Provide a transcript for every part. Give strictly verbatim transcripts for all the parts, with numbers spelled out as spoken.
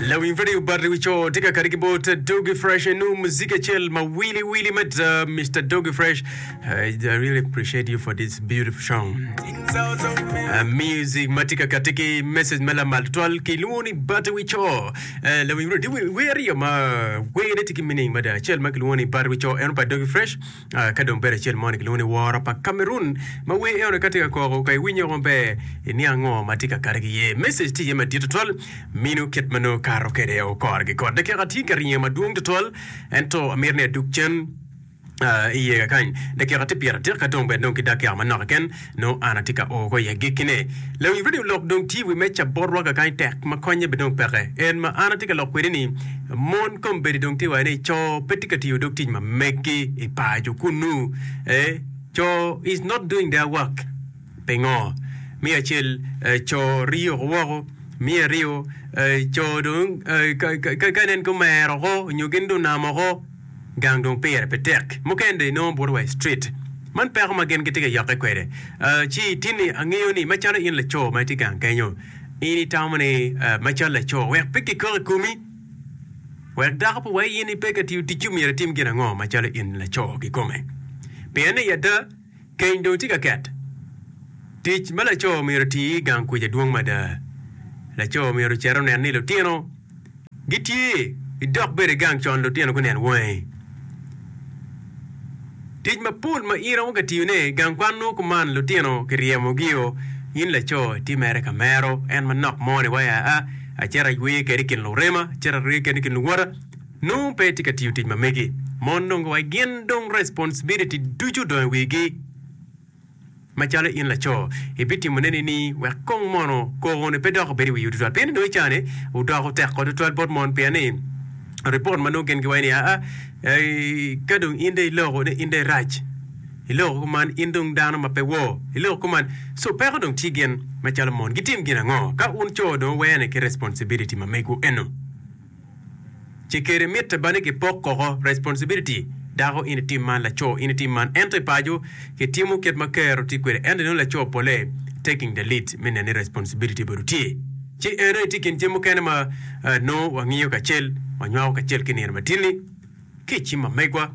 Lawiny Radio Battery wi co tye ka kati ki bot Doggy Fresh enu muziki acel ma wili wili mada Mr. Doggy Fresh I really appreciate you for this beautiful song uh, music ma tye ka kati ki message ma lamal tutwal kilwongo ni Battery wi co uh, lawiny Radio tye wer aryo ma werne tye ki meaning mada acel ma kilwongo ni Battery wi co eno pa Doggy Fresh uh, ka dong bedo acel moni kilwongo ni Woro pa Cameroon ma wer eno ka tye ka koko ka iwinyo maber iniang ngo ma tye ka kati ki iye message tye iye madit tutwal mino kit ma nongo kato kwede okore ki kot dakika tye ka ringo madwong tutwal ento amito ni adug cen uh, iye kakany dakika tye pyera adek ka dong bene dong ki dakika manok keken nongo an atye ka o ko i agikkine lawiny radio lok dong tye i wi meja botwa kakany tek ma konye be dong peke en ma an atye ka lok kwede ni mon kombeddi dong tye waco ni co pe tye ka tiyo dog tic ma meggi i paco kunu eh, co is not doing their work pingo mi acel eh, co rio woko mi aryo eh, co dong eh, ka, ka, ka inen ki omero oko nyo gin dong onamo oko gang dong pire pe tek mukene dong inongo buto wa i street man peko ma gin gitye ka yokke kwede uh, ci tini angeyo ni macalo in laco ma itye gang kenyo in itamo ni uh, macalo laco wek pe kikok i komi wek dako pe wai in ipe ka tiyo ticci myero itim gin ango macalo in laco kikome pien i ada keny dong tye ka ket tic ma laco myero oti i gang kuca dwong mada laco myero ocit onen ni lutino gitye idok bede gang con lutino gunen wangi tic mapol ma in romo ka tiyone gang kwan nongo kuman lutino kiryemogi in laco itye mere ka mero en manok mo ni waya a acito aywe kede i kin lurema acito arye kede i kin luwota nongo pe itye ka tiyo tic ma megi mon dong wa gin dong responsibility ducu odong i wigi macalo in laco ibitimone ni ni wek kong mono koko-ni pe dok obed i wi tutwal pien ni dong i cani odoko tek tutwal bot mon pien ni report ma nongo gin giwaco ni aa ka dong in dong iloko ni in dong irac iloko kuman in dong dano ma pe wor iloko kuman so peko dong tye gin macalo mon gitim gin ango ka un co dong wuwene ki responsibility ma megwu eno ci kede mitte ba ni kipok koko responsibility dako in itim man laco in itim man ento i paco kitimo kit ma kero tye kwede ento inongo laco pole taking the lead me neno ni responsibility obedo tye ci eno itye kin jami mukene ma uh, nongo wangiyo kacel wanywako kacel ki nino matinni ki i cim ma megwa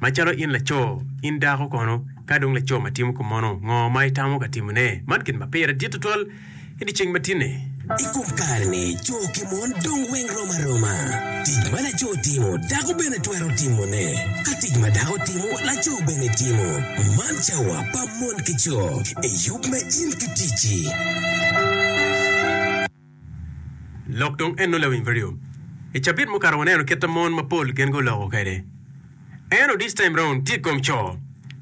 macalo in laco in dako kono ka dong laco ma timo kumono ngo ma itamo ka timone man gin ma pire dit tutwal i dyeceng matinni I kom kare-ni, co ki mon dong weng rom aroma. Tic ma laco timo, dako bene twero timone. Ka tic ma dako timo, laco bene timo. Man cawa pa mon ki co i yub me in ki ticci. lok dong eno lawiny radio i cabit mukato waneno kit ma mon mapol gin guloko kwede eno this time round tye i kom co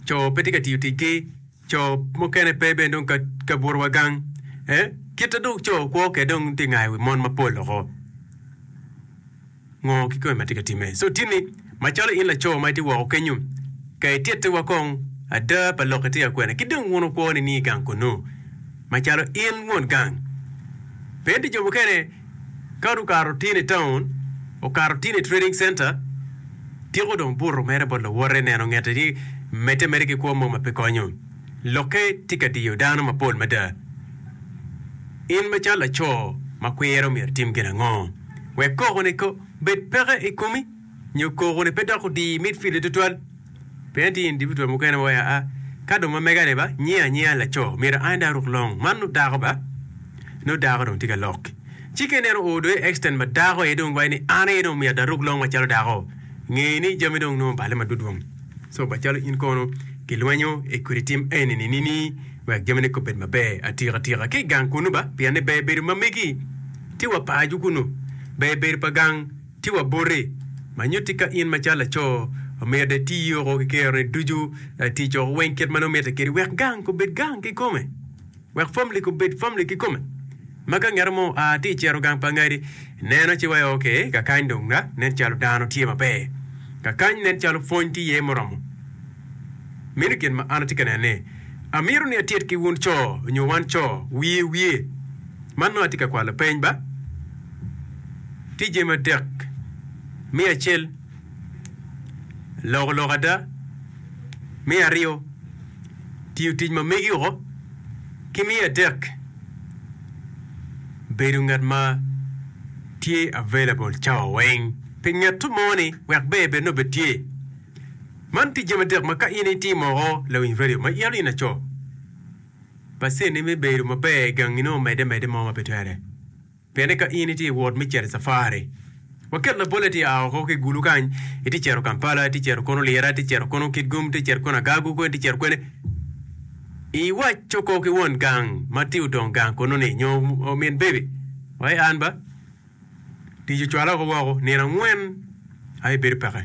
co pe tye ka tiyo ticgi co mukene pe bene dong ka, ka buto wa gang eh? kit ma dong co kwo kwede dong tye ngayo wi mon mapol oko ngo kikome ma tye ka time so tinni macalo in laco ma itye woko kenyo ka itittiwa kong ada pa lok itye ka kwena ki dong wun wukwo ni i gang kunu macalo in won gang pien ti jo mukene ka okato tin i town okato tin i trading center tiko dong buto mere bot lawote neno ngete ni medde mere ki kwo mo ma pe konyo lokke tye ka diyo dano mapol mada in macalo laco ma kwero myero itim gin ango wek koko-ni ko bed peke i komi nyo koko-ni pe dok odi midfield tutwal pien tye individual mukene ma waya a ka dong ma mega-ni ba nyinga anyinga laco myero an dong aruk long man nongo dako ba nongo dako dong tye ka lok ci ka ineno oo dong i extent ma dako aye dong waco ni an aye dong myero aruk long macalo dako nge ni jami dong nongo obale madwodwong so macalo in kono kilwenyo i kodi tim eni ni nini wek jamine ko bed maber atika tika ki i gang kunu ba pien ni ber bedo ma megi tye wa paco kunu ber bedo pa gang tye wa boti ma nyutti ka in macalo laco myero iti oko ki keroni ducu tic oko weng kit ma nongo mitte kedi wek gang obed gang kikome wek family obed family kikome ma ka ngeto mo oa tye icito gang pa ngadi neno ci waco ok kakany dong nen calo dano tye maber kakany nen calo pwony tye iye muromo meno gin ma an atye ka neno-ni amito ni atit ki wun co nyo wan co wiye wiye man nongo atye ka kwalo peny ba tye jami adek me acel loko lok ada me aryo tiyo tic ma megi oko ki me adek bedo ngat ma Tye available cawa weng pi ngeto mo ni wek ber bed nongo bed tye. Man tye jami adek ma ka in itimo oko lawiny radio ma ito in laco, pacen-ni me bedo maber i gangi nongo omedde medde mo ma pe twere. Pienni ka in itye i wot me cito i cafari, waket labolle itye a oko ki i Gulu kany, itye cito Kampala, itye cito kono Lira, itye cito kono Kitgum, itye cito kono Agagu, itye cito kwene, iwaco ko ki won gang ma tye odong gang kono-ni nyo omin baby, wai an ba, Tic ocwala oko woko nino angwen aye bedo peke.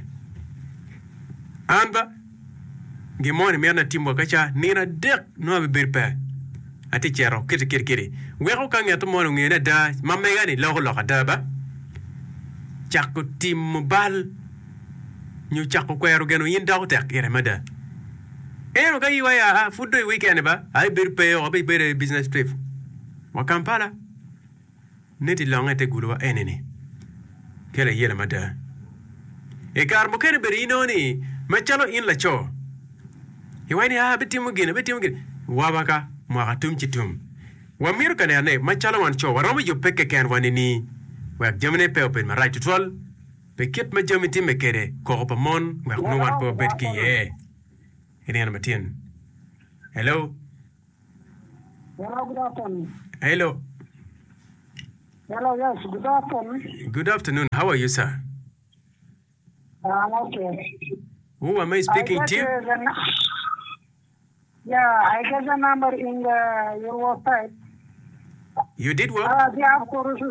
An ba, gin mo ni mito ni atim wa kaca nino adek nongo abibedo pe. Atye cito kiti kiti kiti. Weko ka ngeto moni ongeyo ni ada ma mega ni loko lok ada ba, cako timo bal nyo cako kwero geno in doko tek ire mada. Ento ka iwa ya pud dong i weekend ni ba, aye bedo pe oko abibedo i business trip wa Kampala. Niti longe i te gudowa eni-ni kelo ayela mada. I kare mukene bene inongo ni macalo in laco, iwaco ni, 'Aa, abitimo gin, abitimo gin. Waba ka mwaka tum ci tum. Wamito ka neno ni macalo wan co, waromo yubbe kekenwa nining wek jamine pe obed marac tutwal pi kit ma jami timme kwede, koko pa mon wek nongo wan pe wabed ki iye i nino matin. Hello. Hello, good afternoon. Hello. Hello, yes, good afternoon. Good afternoon. How are you, sir? I'm okay. Who am I speaking I to? get, uh, the, nu- yeah, I get the number in the, your website. You did what? Uh, the of course,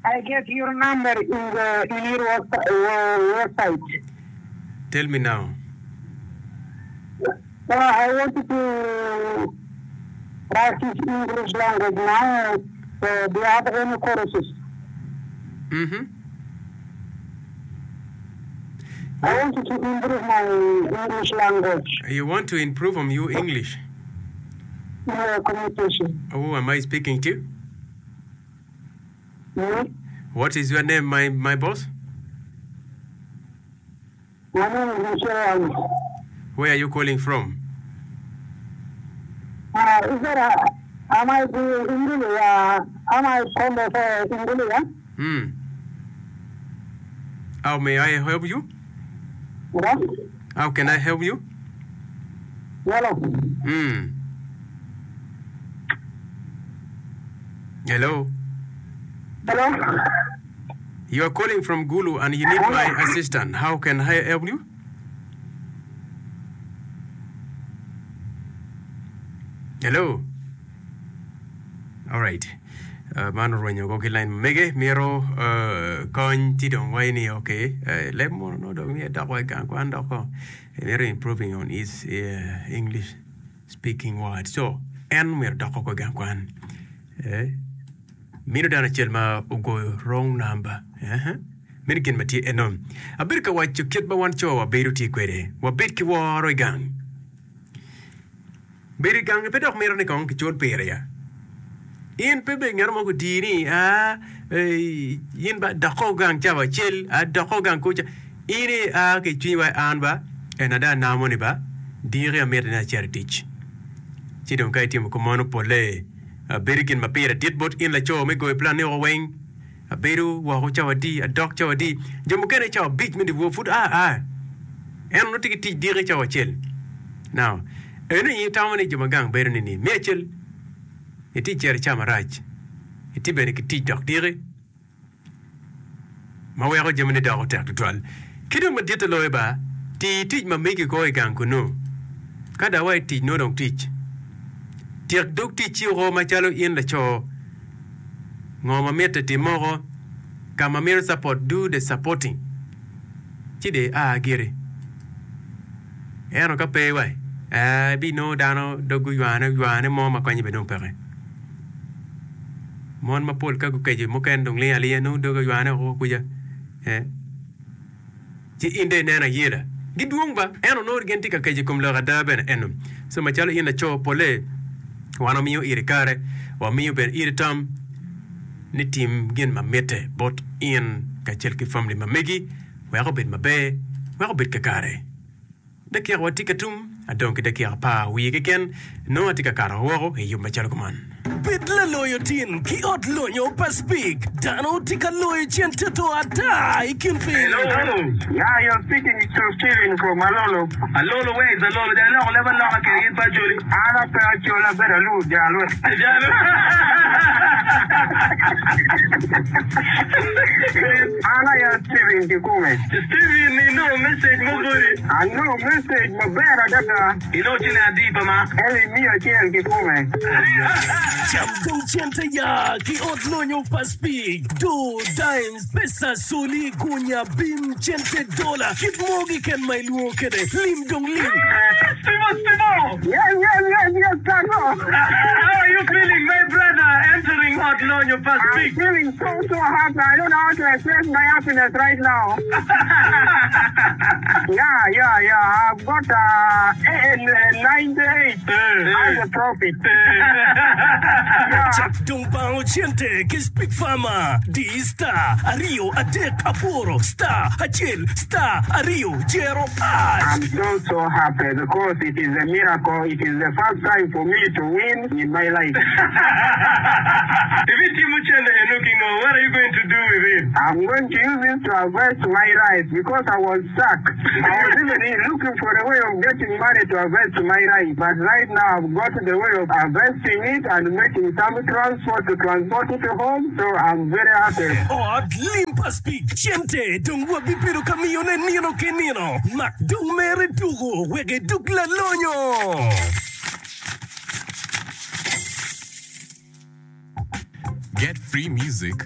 I get your number in the in your website. Uh, website. Tell me now. Uh, I want to practice English language now. Uh, do you have any courses? Mm-hmm. I want to improve my English language. You want to improve on your English? Yeah, communication. Who am I speaking to? Me? What is your name, my, my boss? My name is Michelle Ali. Where are you calling from? Uh, is there a, am I the Ingili? Uh, am I from the Ingili? Yeah? Hmm. How may I help you? What? How can I help you? Hello. Hmm. Hello. Hello. You are calling from Gulu and you need my assistant. How can I help you? Hello. All right. Uh, man orwenyo ko ki line mege mito uh, kony ti dong wai ni okay uh, leb mono no dong ni dok wa gang kwan dok ko mito improving on his uh, English speaking word so en myero dok ko gang kwan eh Mino dano acel ma ogoyo wrong number. Uh-huh. Meno gin ma tye eno. Abedo ka waco kit ma wan co wabedo tye kwede. Wabed ki woro i gang. Bedo i gang pe dok mito ni kong kicul pire ya. In pe bed ngat mo gutii ni a in ba doko gang cawa acel, a doko gang kuca. In i a ki cwinyi wa an ba en ada namo ni ba diki amito ni acit i tic. Ci dong ka itimo kumano polle Abedo gin ma pire dit bot in laco me goyo plan ni oko weng. Abedo woko cawa adi, adok cawa adi. Jo mukene cawa abic me dyewor pud a a. En onongo tye ki tic diki cawa acel. Now, eno in itamo ni jo ma gang bedo ni ni? Me acel, itye cito i cawa marac. Itye bene ki tic dok diki. ma weko jamine doko tek tutwal. Ki dong maditte loyo ba, ti tic ma megi ko i gang kunnu. Ka dong wa i tic nongo dong tic. Tyek dog ticci oko macalo in laco. Ngo ma mitte tim moko, ka ma mito support do the supporting. Ci dong ia giri. Ento ka pe wa, ee, ibinongo dano dog guywane ywane mo ma konye bene dong peke. Mon mapol ka gukeco mukene dong ling alinga nongo doge oywane woko kuca eh ci in dong ineno ayela gidwong ba ento nongo gin tye ka keco i kom lok ada bene eno so macalo in laco pole wan wamiyo iri kare wamiyo bene iri tam ni tim gin ma mitte bot in kacel ki family ma megi wek obed maber wek obed kakare. Dakika wa tye ka tum, adong ki dakika apar wiye keken, nongo atye ka kato woko i yub macalo kuman. Bed laloyo tin ki ot lonyo pa Speke. Dano tye ka loyo cente to ata i kin piny. Hello. Yeah, you're speaking to Steven from Alolo. Alolo, where is Alolo? Jang loko leba loka kede in pa Acholi. An ape Acholi abedo alu jalo. Jalo. An aye Steven kikome. Steven, inongo message mo boti. Anongo message maber adada. Inongo ciling adi pa ma? Eli miya acel kikome. Cam dong cente ya ki ot lonyo pa Speke. Do, dimes, pesa, soli, gunya, bim, cente, dola. Kit mo keken ma ilwongo kede. Lim dong lim. Steve, Steve. Yes, yes, yes, yes, Tago. How are you feeling, my brother, entering Ot Lonyo pa I'm Speke? feeling so, so happy. I don't know how to express my happiness right now. Yeah, yeah, yeah. I've got uh, eh, eh, ninety-eight as a profit. Yeah. Cak dong bango cente ki Speke Farmer. Di star aryo adek aboro star acel star aryo zero hash. I'm so, so happy because it is a miracle. It is the first time for me to win in my life. If it's Timuchende Enukingo, what are you going to do with it? I'm going to use it to harvest my rice because I was stuck. I was even looking for a way of getting money to harvest my rice. But right now I've got the way of harvesting it and making some transport to transport it home. So I'm very happy. Ot lim pa Speke. Cente dong wabibedo ka miyone nino ki nino. Mak dong mere tuko wek iduk lalonyo. Get free music.